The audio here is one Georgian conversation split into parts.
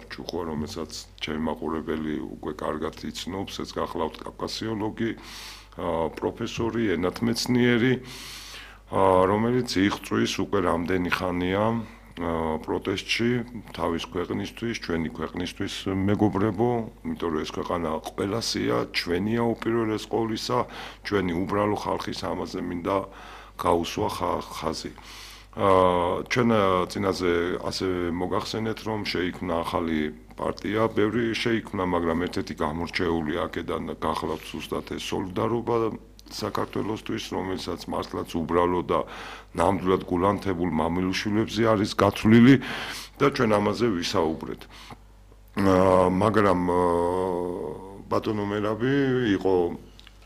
ჭუხვა, რომელსაც ჩემი მაყურებელი უკვე კარგად იცნობს, ეს გახლავთ კავკასიოლოგი, პროფესორი, ენათმეცნიერი, რომელიც იღწვის უკვე რამდენი ხანია პროტესტში თავის ქვეყნისთვის, ჩვენი ქვეყნისთვის მეგობრებო, იმიტომ რომ ეს ქვეყანა ყველასია, ჩვენია უპირველეს ყოვლისა, ჩვენი უბრალო ხალხის ამაზე მინდა გაუსვა ხაზი. ჩვენ წინაზე ასევე მოგახსენეთ, რომ შეიქმნა ახალი პარტია, ბევრი შეიქმნა, მაგრამ ერთ-ერთი გამორჩეული აქედან გახლავთ ზუსტად ეს სოლიდარობა საქართველოსთვის, რომელსაც მართლაც უბრალო და ნამდვილად გულანთებულ მამილუშვილებზე არის გათვლილი და ჩვენ ამაზე ვისაუბრეთ. მაგრამ ბატონო მერაბი იყო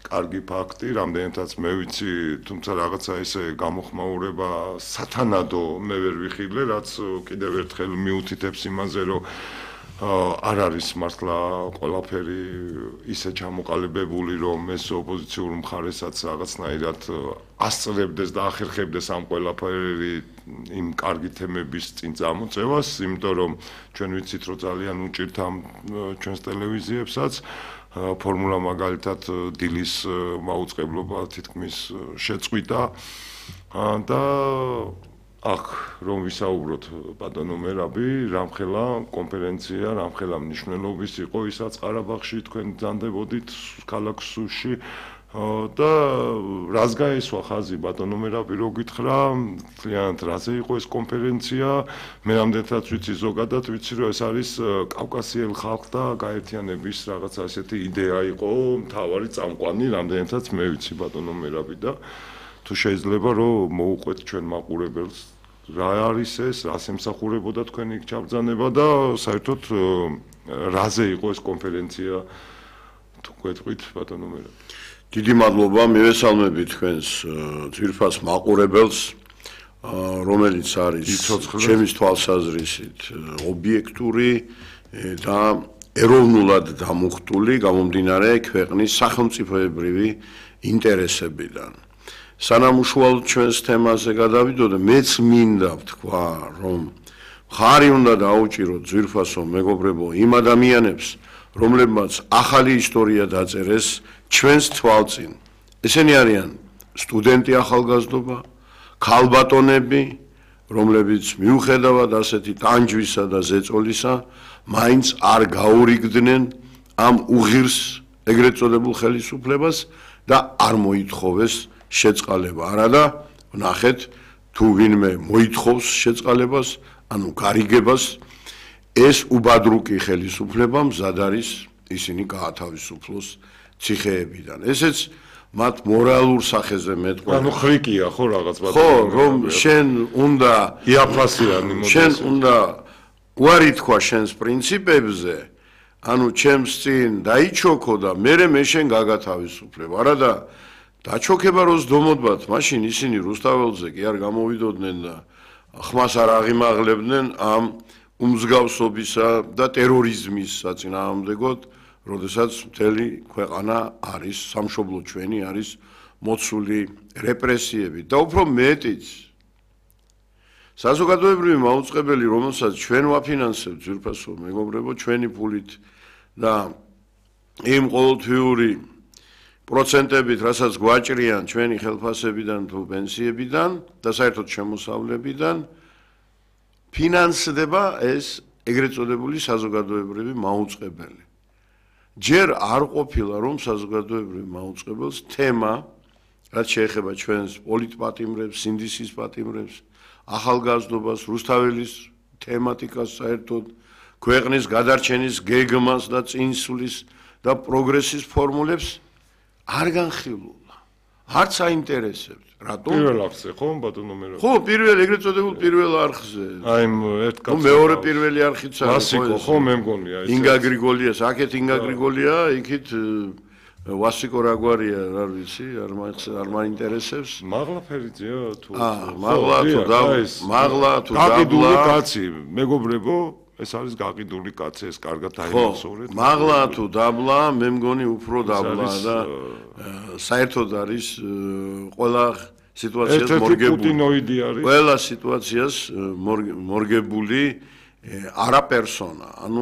კარგი ფაქტი, რამდენადაც მე ვიცი, თუმცა რაღაცა ესე გამოხმაურება სათანადო მე ვერ ვიხილე, რაც კიდევ ერთხელ მიუთითებს იმაზე, რომ არ არის მართლა ყველაფერი ისე ჩამოყალიბებული, რომ ეს ოპოზიციურ მხარესაც რაღაცნაირად ასწრებდეს და ახერხებდეს ამ ყველაფერი იმ კარგი თემების წინ წამოწევას, იმიტომ რომ ჩვენ ვიცით, რომ ძალიან უჭირთ ამ ჩვენს ტელევიზიებსაც ფორმულა მაგალითად დილის მაუწყებლობა თითქმის შეწყვიტა და აქ რომ ვისაუბროთ ბატონო მერაბი, რამხელა კონფერენცია, რამხელა მნიშვნელობის იყო ისაც ყარაბაღში თქვენ ძანდებოდით ქალაქ სუსში და რას გაესვა ხაზი ბატონო მერაბი რო გითხრა, ძალიან რაზე იყო ეს კონფერენცია, მე რამდენადაც ვიცი ზოგადად ვიცი რომ ეს არის კავკასიელ ხალხთა გაერთიანების რაღაცა ასეთი იდეა იყო, მთავარი წამყვანი, რამდენადაც მე ვიცი ბატონო მერაბი და თუ შეიძლება რომ მოუყვეთ ჩვენ მაყურებელს რა არის ეს, რას ემსახურებოდა თქვენი ჩაბრძანება და საერთოდ რაზე იყო ეს კონფერენცია თუ გვეტყვით ბატონო მერაბი. დიდი მადლობა, მივესალმები თქვენს ძვირფას მაყურებელს, რომელიც არის ჩემის თვალსაზრისით ობიექტური და ეროვნულად დამუხტული, გამომდინარე ქვეყნის სახელმწიფოებრივი ინტერესებიდან. სანამ უშუალოდ ჩვენს თემაზე გადავიდოდე, მეც მინდა ვთქვა, რომ მხარი უნდა დაუჭიროთ ძვირფასო მეგობრებო იმ ადამიანებს, რომლებმაც ახალი ისტორია დაწერეს ჩვენს თვალწინ. ესენი არიან სტუდენტი ახალგაზრდობა, ქალბატონები, რომლებიც მიუხედავად ასეთი ტანჯვისა და ზეწოლისა, მაინც არ გაურიგდნენ ამ უღირს ეგრეთ წოდებულ ხელისუფლებას და არ მოითხოვეს შეწყალება. არადა, ვნახეთ, თუ ვინმე მოითხოვს შეწყალებას, ანუ გარიგებას, ეს უბადრუკი ხელისუფლება მზად არის ისინი გაათავისუფლოს ციხეებიდან. ესეც მათ მორალურ სახეზე მეტყვა. ანუ ხრიკია ხო რაღაც ბატონო. ხო, რომ შენ უნდა იაფასიანი მოდი. შენ უნდა უარი თქვა შენს პრინციპებზე, ანუ ჩემს წინ დაიჩოქო და მე შენ გაგათავისუფლებ. არადა დაჩოქება როს დომოდბათ, მაშინ ისინი რუსთაველზე კი არ გამოვიდოდნენ და ხმას არ აღიმაღლებდნენ ამ უმსგავსობისა და ტერორიზმის საწინააღმდეგოდ, როდესაც მთელი ქვეყანა არის, სამშობლო ჩვენი არის მოცული რეპრესიებით და უფრო მეტიც. საზოგადოებრივი მაუწყებელი, რომელსაც ჩვენ ვაფინანსებთ, ძვირფასო მეგობრებო, ჩვენი ფულით და იმ ყოველთვიური პროცენტებით, რასაც გვაჭრიან ჩვენი ხელფასებიდან თუ პენსიებიდან და საერთოდ შემოსავლებიდან, ფინანსდება ეს ეგრეთ წოდებული საზოგადოებრივი მაუწყებელი. ჯერ არ ყოფილა რომ საზოგადოებრივ მაუწყებელს თემა, რაც შეეხება ჩვენს პოლიტპატიმრებს, სინდისის პატიმრებს, ახალგაზრდობას, რუსთაველის თემატიკას საერთოდ, ქვეყნის გადარჩენის გეგმას და წინსვლის და პროგრესის ფორმულებს არ განხილულა. არც აინტერესებთ. რატომ? პირველ არხზე ხო ბატონო მერაბი? ხო, პირველ ეგრეთ წოდებულ პირველ არხზე. აი ერთ კაცს. მეორე პირველი არხიც არის. ვასიკო ხო მე მგონია ეს. ინგა გრიგოლიას, აქეთ ინგა გრიგოლია, იქით ვასიკო რაგვარია, არ ვიცი, არ მაინტერესებს. მაღლაფერიძეა თუ მაღლა თუ მაღლა თუ გაყიდული კაცი, მეგობრებო, ეს არის გაყიდული კაცი, ეს კარგად აინახავთ. მაღლა თუ დაბლა, მე მგონი უფრო დაბლა და საერთოდ არის ყველა სიტუაციას მორგებული. ყველა სიტუაციას მორგებული არა პერსონა. ანუ